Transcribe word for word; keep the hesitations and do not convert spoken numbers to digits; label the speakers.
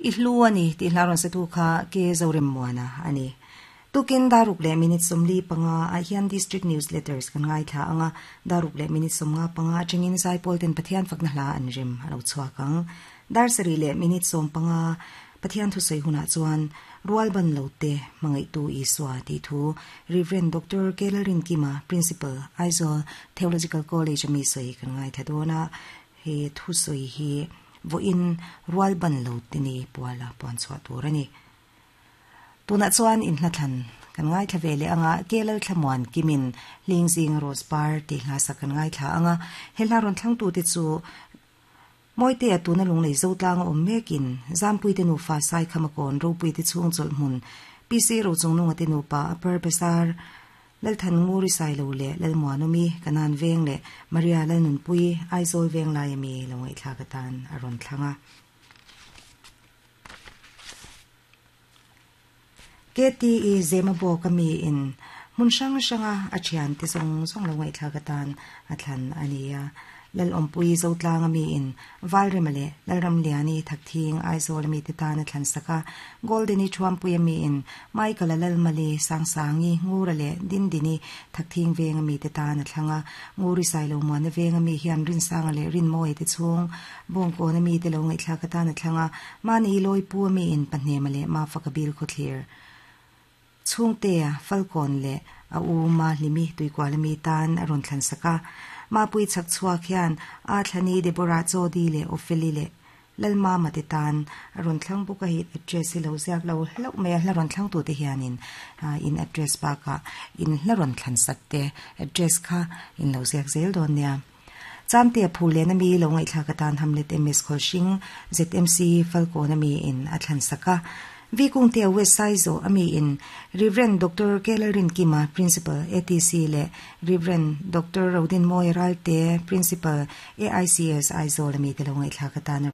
Speaker 1: I hlu ani ti hlaron se tu kha ke zorem muana ani. Tukin daruk le minute somli panga a hian district newsletters kan ngai tha anga daruk le minute somnga panga chingin sai polten pathian fakna hla an rim alo chuakang dar sari le minute som panga pathian thu sei huna chuan rual ban lote mangai tu iswa ti thu Reverend Doctor Kelarin Kima, Principal, Aizawl Theological College mi sei kan ngai tha dona he thu sei hi vo in rual ban lote ni puala pon chwa turani. Tuna chuan in hlathan kan ngai thla vele anga kelal thlamuan kimin lingzing rose bar ti hla sa kan ngai thla anga hela ron thlang tu te chu moite atuna lunglei zo tlang om mekin zampui te nu fa sai khamakon ropui te chung chol mun pc ro chung nunga te nu pa upper besar lal than nguri sai lo le lal muanumi kanan veng le Maria lal nun pui Aizawl veng lai mi longai thla ka tan aron thlanga. K T E zema bo kami in mun sang sanga achian ti song song lo ngai thla ka tan athlan ania lal ompui zo tlang ami in valremale lalram liani thakthing Aizawl mi te tan athlan saka golden i thuam pui ami in Michael lal mali sang sangi ngurale dindini thakthing veng ami te tan athlanga nguri sailo mon veng ami hian rin sanga le rin moi te chung bong ko na mi te lo ngai thla ka tan athlanga mani loi pu ami in pahne male ma fakabil khothlir chung te falcon le a u ma limi tuikwal mi tan aron thlan saka ma pui chak chua khian a thlani Deborah Chodi le Opheli le lalma mate tan aron thlang buka hi address lo ziak lo hlo me hlaron thlang tu te hianin in address pa ka in hlaron thlan sak te address kha in lo ziak zel don nia. Chamte phule na mi lo ngai thla ka tan hamlet ms khoshing Z M C falcon ami in athlan saka Vikung te West Saizo ami in Reverend Doctor Kelarin Kima, Principal, A T C le Reverend Doctor Rodin Moy Ralte, Principal, A I C S Aizawl ami te lo ngai thla ka tan.